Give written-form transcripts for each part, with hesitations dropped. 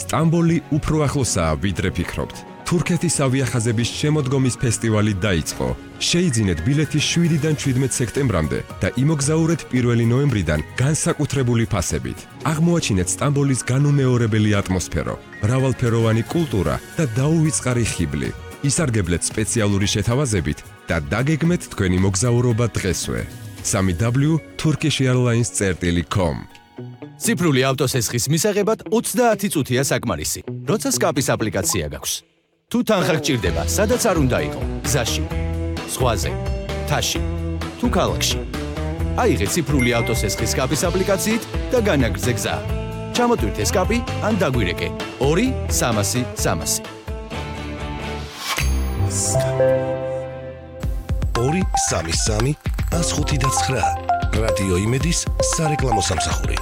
სტამბოლი უფრო ახლოსაა, ვიდრე ფიქრობთ. თურქეთის ავიახაზების შემოდგომის ფესტივალი დაიწყო. შეიძინეთ ბილეთი 7-დან 17 სექტემბრამდე და იმოგზაურეთ 1 ნოემბრიდან განსაკუთრებული ფასებით. აღმოაჩინეთ სტამბოლის განუმეორებელი ატმოსფერო, მრავალფეროვანი კულტურა და დაუვიწყარი ხიბლი. ისარგებლეთ სპეციალური შეთავაზებით და დაგეგმეთ თქვენი მოგზაურობა დღესვე. www.turkishairlines.com ციფრული ავტოსესხის მისაღებად 30 წუთია საკმარისი, როცა სკაპის აპლიკაცია გაქვს. თუ თანხა გჭირდება, სადაც არ უნდა იყო, გზაში, ზღვაზე, მთაში, თუ ქალაქში. აიღეთ ციფრული ავტოსესხის სკაპის აპლიკაციით და განაგრძე გზა. ჩამოტვირთე სკაპი ან დაგვირეკე 2-300-300. 2-3-3-5-9 რადიო იმედის სარეკლამო სამსახური.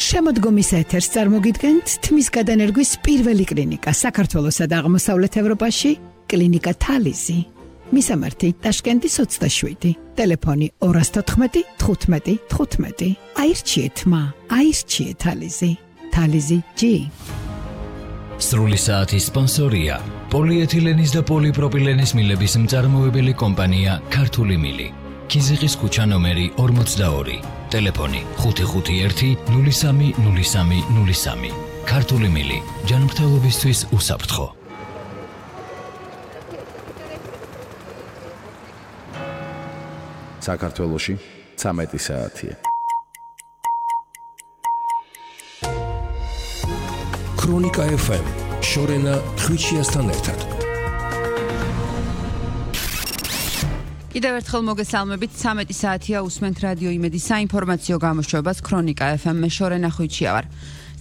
შემოდგომის ეთერს წარმოგიდგენთ თმის გადანერგვის პირველი კლინიკა საქართველოსა და აღმოსავლეთ ევროპაში, კლინიკა თალიზი. მისამართი ტაშკენტის 27, ტელეფონი 214 15 15. აირჩიეთ მა, აირჩიეთ თალიზი. თალიზი G. სრული საათის სპონსორია პოლიეთილენის და პოლიპროპილენის მილების მწარმოებელი კომპანია ქართული მილი. ქიზიყის ქუჩა ნომერი 42, ტელეფონი 551 03 03 03. ქართული მილი, ჯანმრთელობისთვის უსაფრთხო. საქართველოში 13 საათია. ქრონიკა FM შორენა ხვიჩიასთან ერთად. კიდევ ერთხელ მოგესალმებით, 13 საათია უსმენთ რადიო იმედის საინფორმაციო გამოშვებას ქრონიკა FM მე შორენა ხვიჩია ვარ.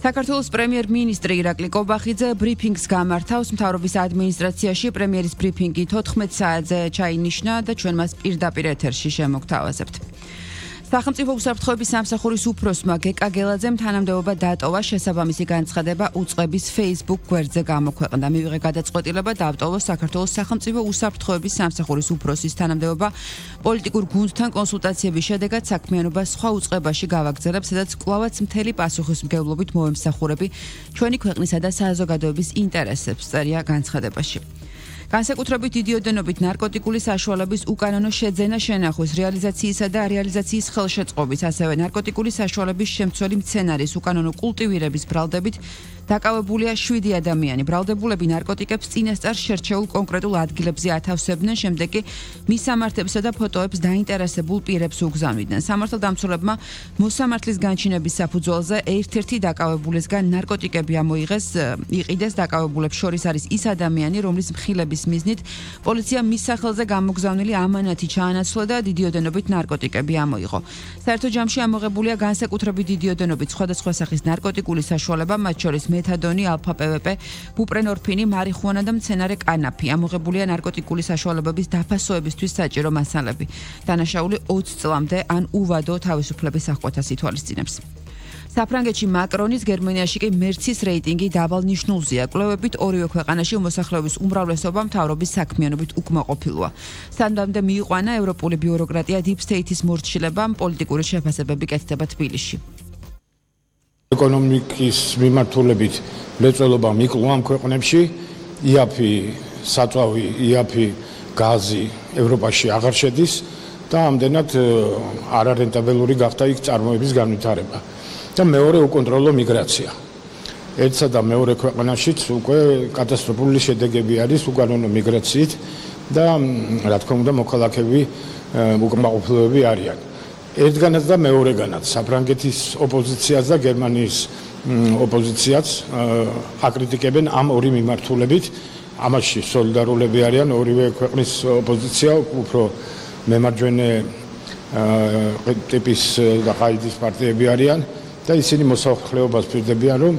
საქართველოს პრემიერ-მინისტრი ირაკლი კობახიძე ბრიფინგს გამართავს მთავრობის ადმინისტრაციაში. პრემიერის ბრიფინგი 14 საათზე ჩაინიშნა და ჩვენ მას პირდაპირ ეთერში შემოგთავაზებთ. სახელმწიფო უსაფრთხოების სამსახურის უფროსმა გეკა გელაძემ თანამდებობა დატოვა. შესაბამისი განცხადება უწყების Facebook გვერდზე გამოქვეყნდა. მივიღე გადაწყვეტილება დავტოვოს საქართველოს სახელმწიფო უსაფრთხოების სამსახურის უფროსის თანამდებობა. პოლიტიკურ გუნდთან კონსულტაციების შედეგად საქმიანობა სხვა უწყებაში გავაგრძელებ, სადაც კვლავაც მთელი პასუხისმგებლობით მოვემსახურები ჩვენი ქვეყნისა და საზოგადოების ინტერესებს, წერია განცხადებაში. განსაკუთრებით დიდი ოდენობით ნარკოტიკული საშუალების უკანონო შეძენა შენახვის, რეალიზაციისა და რეალიზაციის ხელშეწყობის, ასევე ნარკოტიკული საშუალების შემცველი მცენარის უკანონო კულტივირების ბრალდებით დაკავებულია 7 ადამიანი. ბრალდებულები ნარკოტიკებს წინასწარ შერჩეულ კონკრეტულ ადგილებზე ათავსებდნენ, შემდეგ კი მისამართებსა და ფოტოებს დაინტერესებულ პირებს უგზავნიდნენ. სამართალდამცველებმა მოსამართლის განჩინების საფუძველზე ერთ-ერთი დაკავებულისგან ნარკოტიკები ამოიღეს, იყიდეს. დაკავებულებს შორის არის ის ადამიანი, რომლის მხილების მიზნით პოლიცია მის სახელზე გამოგზავნილი ამანათი ჩაანაცვლა და დიდი ოდენობით ნარკოტიკები ამოიღო. საერთო ჯამში ამოღებულია განსაკუთრებით დიდი ოდენობით სხვადასხვა სახის ნარკოტიკული საშუალება, მათ შორის მეთადონი, ალფა-პვპ, ბუპრენორფინი, მარიხუანა და მცენარე კანაფი. ამოღებულია ნარკოტიკული საშუალებების დაფასოებისთვის საჭირო მასალები. დანაშაული 20 წლამდე ან უვადო თავისუფლების აღკვეთას ითვალისწინებს. საფრანგეთში მაკრონის, გერმანიაში კი მერცის რეიტინგი დაბალ ნიშნულზეა. კვლევებით ორივე ქვეყანაში მოსახლეობის უმრავლესობა მთავრობის საქმიანობით უკმაყოფილოა. სამდამდე მიიყვანა ევროპული ბიუროკრატია deep state-ის მორჩილებამ, პოლიტიკური შეფასებები კეთდება თბილისში. ეკონომიკის მიმართულებით მრეწველობა მიკლვა ამ ქვეყნებში, იაფი საწვავი, იაფი გაზი ევროპაში აღარ შედის და ამდენად არარენტაბელური გახდა იქ წარმოების განვითარება. და მეორე უკონტროლო მიგრაცია. ერთსა და მეორე ქვეყანაშიც უკვე კატასტროფული შედეგები არის უკანონო მიგრაციით და რა თქმა უნდა მოქალაქეები უკმაყოფილოები არიან. ერთგანაც და მეორეგანაც საფრანგეთის ოპოზიციაც და გერმანიის ოპოზიციაც აკრიტიკებენ ამ ორი მიმართულებით. ამაში სოლიდარულები არიან ორივე ქვეყნის ოპოზიცია, უფრო მემარჯვენე ტიპის და ყაიდის პარტიები არიან. და ისინი მოსახლეობას პირდებიან, რომ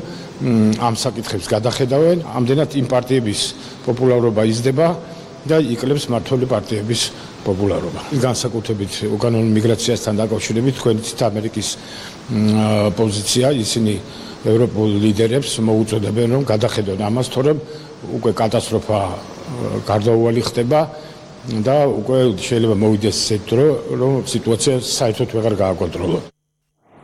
ამ საკითხებს გადახედავენ, ამდენად იმ პარტიების პოპულარობა იზრდება და იკლებს მმართველი პარტიების პოპულარობა. განსაკუთრებით უკანონო მიგრაციასთან დაკავშირებით თქვენით ამერიკის პოზიცია, ისინი ევროპულ ლიდერებს მოუწოდებენ, რომ გადახედონ ამას, თორემ უკვე კატასტროფა გარდაუვალი ხდება და უკვე შეიძლება მოვიდეს ისეთ დრო, რომ სიტუაცია საერთოდ ვეღარ გააკონტროლოს.